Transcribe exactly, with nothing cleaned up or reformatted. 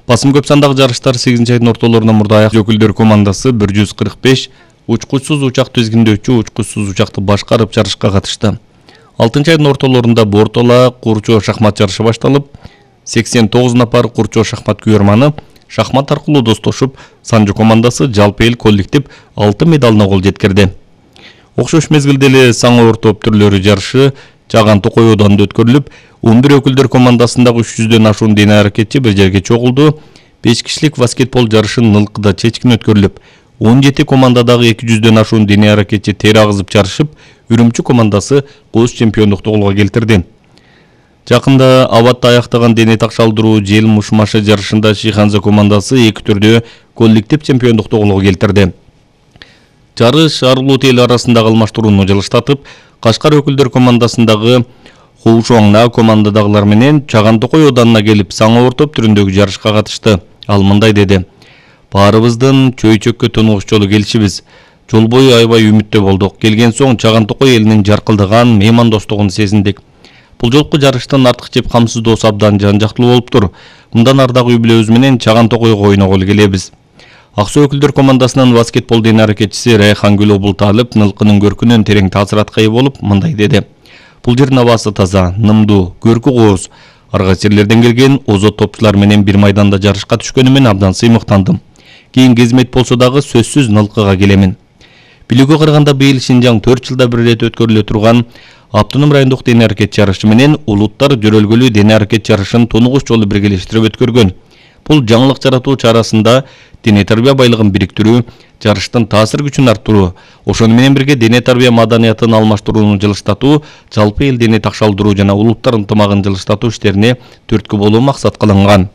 Басым көп сандагы жарыштар сегизинчи айдын ортолорунда мурда аяк өкүлдөр командасы бир жүз кырк беш учкучсуз учак тизгиндөөчү учкучсуз учакты башкарып жарышка катышты. алтынчы айдын ортолорунда бортола курчоо шахмат жарышы башталып, сексен тогуз напар курчоо шахмат күйөрманы шахмат аркылуу достошуп, Санжу командасы жалпы эл коллектив алты медалына кол жеткирди. Окшош мезгилде эле саңа оор топ түрлөрү жарышы Чаган Токой оодунда өткөрүлүп, он бир өкүлдөр командасындагы үч жүздөн ашуун дене аракетчи бир жерге чогулду. беш кишилик баскетбол жарышы Нылкыда чечкин өткөрүлүп, он жети командадагы эки жүздөн ашуун дене аракетчи тер агызып жарышып, Үрүмчү командасы кооз чемпиондукту колго келтирди. Жакында абатта аяктаган дене такшалдыруу жел мушмашы жарышында Шиханза командасы эки түрдө коллектив чемпиондукту колго келтирди. Жарыш арулуу эл арасындагы алмаштырууну жылыштатып, Кашкар өкүлдөр командасындагы Хоушоңна командадагылар менен Чаган Токой оодунуна келип саңа оор топ түрүндөгү жарышка катышты. Ал мындай деди: "Баарыбыздын чөйчөккө тонугуш жолу келишибиз. Жол бою аябай үмүттө болдук. Келген соң Чаган Токой элинин жаркылдаган меймандостугун сезиндик. Бул жолку жарыштын артык жеп камсыздоосу абдан жан жактуу болуптур. Мындан ары дагы үй-бүлөбүз менен Чаган Токойго ойноголу келебиз." Ак суу өкүлдөр командасынын баскетбол дене аракетчиси Райхангүл Обулталып Нылкынын көркүнөн терең таасиратка ээ болуп мындай деди: "Бул жердин абасы таза, нымдуу, көркү кооз. Арга жерлерден келген озот топчулар менен бир майданда жарышка түшкөнүмөн абдан сыймыктандым. Кийинки кызмет болсо дагы сөзсүз Нылкыга келемин." Билүүгө караганда быйыл Шинжаң төрт жылда бир ирет өткөрүлө турган автоном райондук дене аракет жарышы менен улуттар жөрөлгөлүү дене аракет жарышын тонугуш жолу биргелештирип өткөргөн. Бул жаңылык жаратуу чарасында дене тарбия байлыгын бириктирүү, жарыштын таасир күчүн арттыруу, ошону менен бирге дене тарбия маданиятын алмаштырууну жылыштатуу, жалпы эл дене такшалдыруу жана улуттар ынтымагын жылыштатуу иштерине түрткү болуу максат кылынган.